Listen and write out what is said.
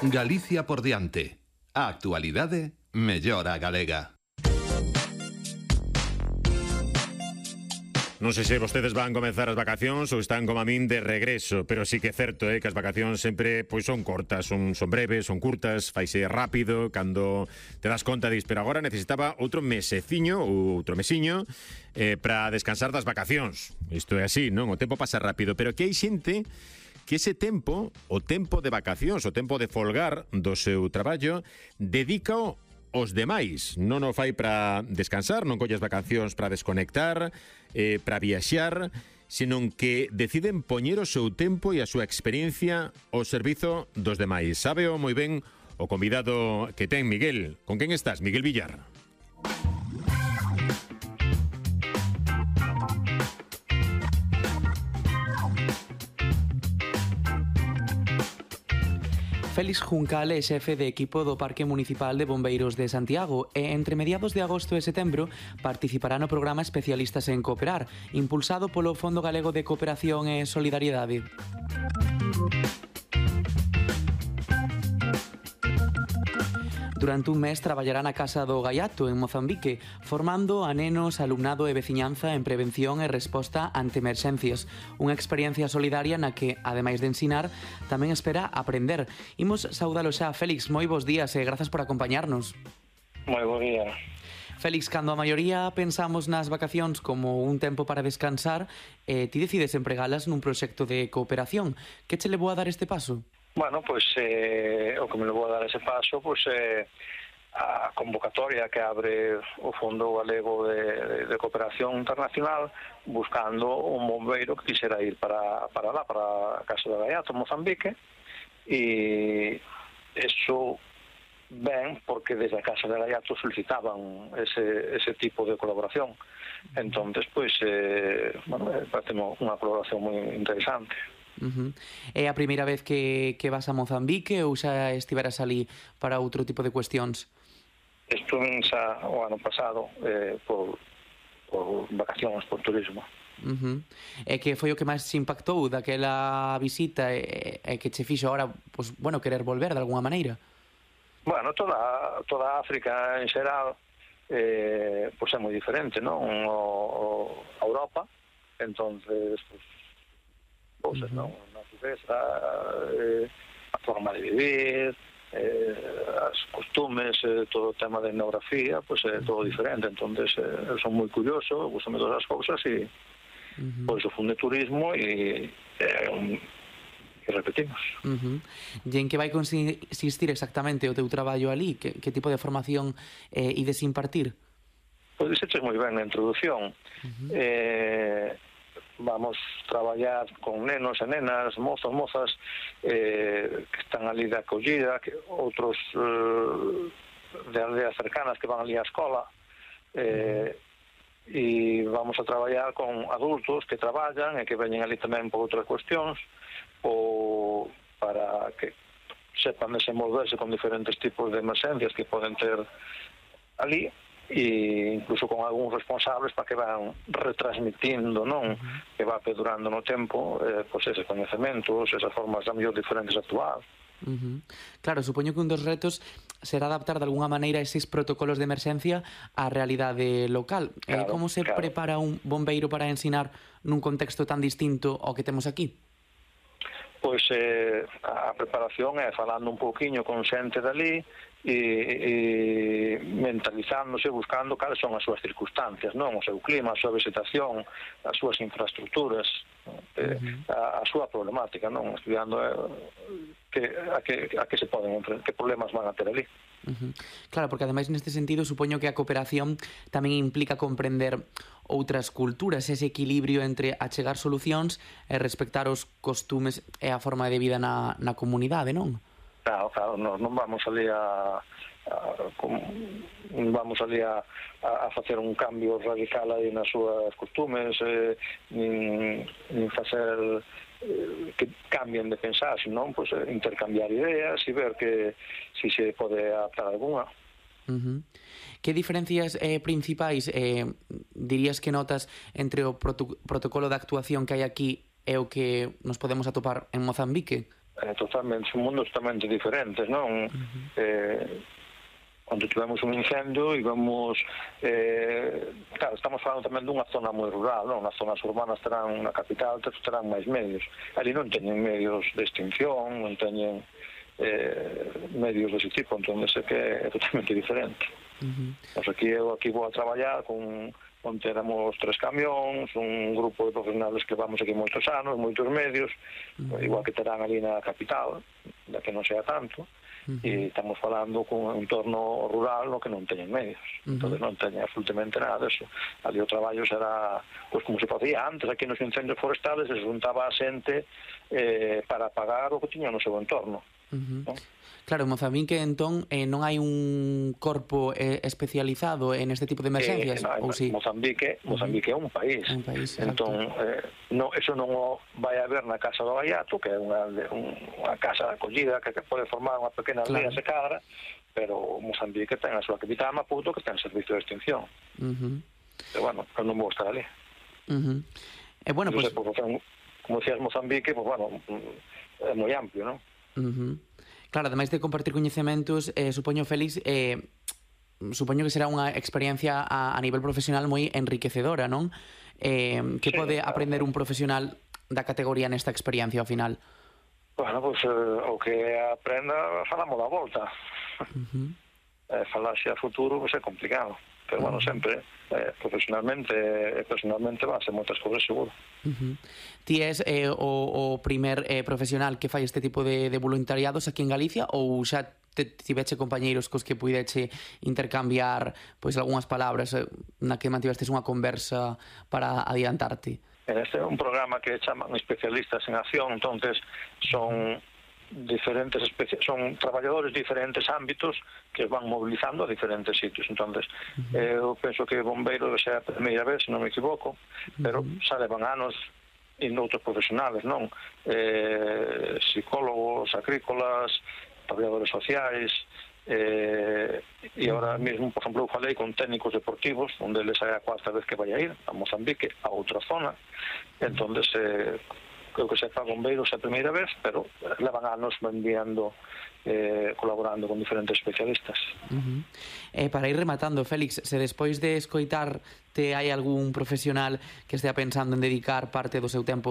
Galicia por diante. A actualidade mellora a galega. Non sei se vostedes van comenzar as vacacións ou están como a min de regreso, pero sí que é certo que as vacacións sempre son cortas, son breves, son curtas, faise rápido, cando te das conta pero agora necesitaba outro meseciño ou outro mesiño para descansar das vacacións. Isto é así, non? O tempo pasa rápido, pero que hai xente que ese tempo, o tempo de vacacións, o tempo de folgar do seu traballo, dedícao os demais. Non o fai para descansar, non colles vacacións para desconectar, para viaxar, senón que deciden poñer o seu tempo e a súa experiencia ao servizo dos demais. Sábeo moi ben o convidado que ten Miguel. Con quen estás, Miguel Villar? Félix Juncal é xefe de equipo do Parque Municipal de Bombeiros de Santiago e entre mediados de agosto e setembro participará no programa Especialistas en Cooperar, impulsado polo Fondo Galego de Cooperación e Solidariedade. Durante un mes traballará na Casa do Gaiato, en Mozambique, formando a nenos, alumnado e veciñanza en prevención e resposta ante emerxencias. Unha experiencia solidaria na que, ademais de ensinar, tamén espera aprender. Imos saudalo xa. Félix, moi bons días e grazas por acompañarnos. Moi bo día. Félix, cando a maioría pensamos nas vacacións como un tempo para descansar, ti decides empregalas nun proxecto de cooperación. Que che levou a dar este paso? Bueno, pois o que me levou a dar ese paso pois a convocatoria que abre o Fondo Galego de Cooperación Internacional buscando un bombeiro que quixera ir para lá, para a Casa do Gaiato, Mozambique, e eso ben porque desde a Casa do Gaiato solicitaban ese tipo de colaboración. Entonces, pois, parece unha colaboración moi interesante. É a primeira vez que vas a Mozambique ou xa estiveras ali para outro tipo de cuestións? Estuve xa o ano pasado por vacacións, por turismo. E que foi o que máis te impactou daquela visita e que che fixo agora, pues, bueno, querer volver de alguna maneira? Bueno, toda África en xeral pues é moi diferente, non? A Europa, entonces pues, cosas, non? A natureza, a forma de vivir, as costumes, todo o tema de etnografía, pois é todo diferente. Entonces, eu son moi curioso, gustame todas as cousas e pois o Fondo de Turismo e repetimos. E en que vai consistir exactamente o teu traballo ali? Que tipo de formación ides impartir? Pois dixeches moi ben na introducción. Vamos traballar con nenos e nenas, mozos, mozas que están ali de acollida, outros de aldeas cercanas que van ali á escola, e vamos a traballar con adultos que traballan e que veñen ali tamén por outras cuestións ou para que sepan desenvolverse con diferentes tipos de emerxencias que poden ter ali, e incluso con algúns responsables para que van retransmitindo, non? Que va perdurando no tempo pois eses coñecementos, esas formas a mellor diferentes de actuar. Claro, supoño que un dos retos será adaptar de alguna maneira eses protocolos de emerxencia á realidade local. Como se prepara un bombeiro para ensinar nun contexto tan distinto ao que temos aquí? Pois a preparación é falando un pouquiño con xente dali e mentalizándose, buscando cales son as súas circunstancias, non? O seu clima, a súa vegetación, as súas infraestructuras, a súa problemática, non? Estudiando a que se poden enfrentar, que problemas van a ter ali. Claro, porque ademais neste sentido supoño que a cooperación tamén implica comprender outras culturas, ese equilibrio entre achegar solucións e respectar os costumes e a forma de vida na comunidade, non? Claro, non vamos ali a facer un cambio radical aí nas súas costumes, nin facer que cambien de pensar, senón pues, intercambiar ideas e ver que si se pode adaptar alguna. Que diferencias principais dirías que notas entre o protocolo de actuación que hai aquí e o que nos podemos atopar en Mozambique? totalmente, son mundos totalmente diferentes, non? Cando tivemos un incendio íbamos, claro, estamos falando tamén dunha zona moi rural, non? As zonas urbanas terán na capital, terán máis medios. Ali non teñen medios de extinción, non teñen medios dese tipo, entón é que é totalmente diferente. Pois eu aquí vou a traballar onde éramos 3 camións, un grupo de profesionales que vamos aquí moitos anos, moitos medios, igual que terán ali na capital, da que non sea tanto, e estamos falando con un entorno rural no que non teñen medios, entón non teñen absolutamente nada disso. Ali o traballo será, pois como se facía antes, aquí nos incendios forestales se juntaba a xente para pagar o que tiña no seu entorno. Claro, en Mozambique, entón, non hai un corpo especializado en este tipo de emergencias? Ou sí? Mozambique é un país. Entón, eso non o vai haber na Casa do Gaiato, que é unha casa de acollida que pode formar unha pequena aldea se cadra, pero Mozambique ten a súa capital Maputo, que ten servicio de extinción. Pero, bueno, eu non vou estar ali. E, bueno, pues... Como decías, Mozambique, pues, bueno, é moi amplio, non? Claro, ademais de compartir coñecementos, supoño, Félix, supoño que será unha experiencia a nivel profesional moi enriquecedora, non? Que pode aprender un profesional da categoría nesta experiencia ao final? Bueno, pois o que aprenda falamos da volta. Falar xe a futuro pois é complicado, pero bueno, sempre profesionalmente e personalmente van a ser moitas cousas seguro. Ti és o primer profesional que fai este tipo de voluntariados aquí en Galicia ou xa tiveche compañeiros cos que puideche intercambiar pois algunhas palabras na que mantivestes unha conversa para adiantarte? Este é un programa que chaman especialistas en acción, entonces son diferentes son traballadores de diferentes ámbitos que van movilizando a diferentes sitios. Entonces, eu penso que bombeiro xa é a primeira vez, se non me equivoco, pero xa levan anos indo outros profesionales, non? Psicólogos, agrícolas, traballadores sociais, e agora mesmo, por exemplo, eu falei con técnicos deportivos, onde eles é a cuarta vez que vai a ir a Mozambique, a outra zona. Entonces, creo que sepa bombeiros a primeira vez, pero levan anos enviando, colaborando con diferentes especialistas. Para ir rematando, Félix, se despois de escoitarte hai algún profesional que estea pensando en dedicar parte do seu tempo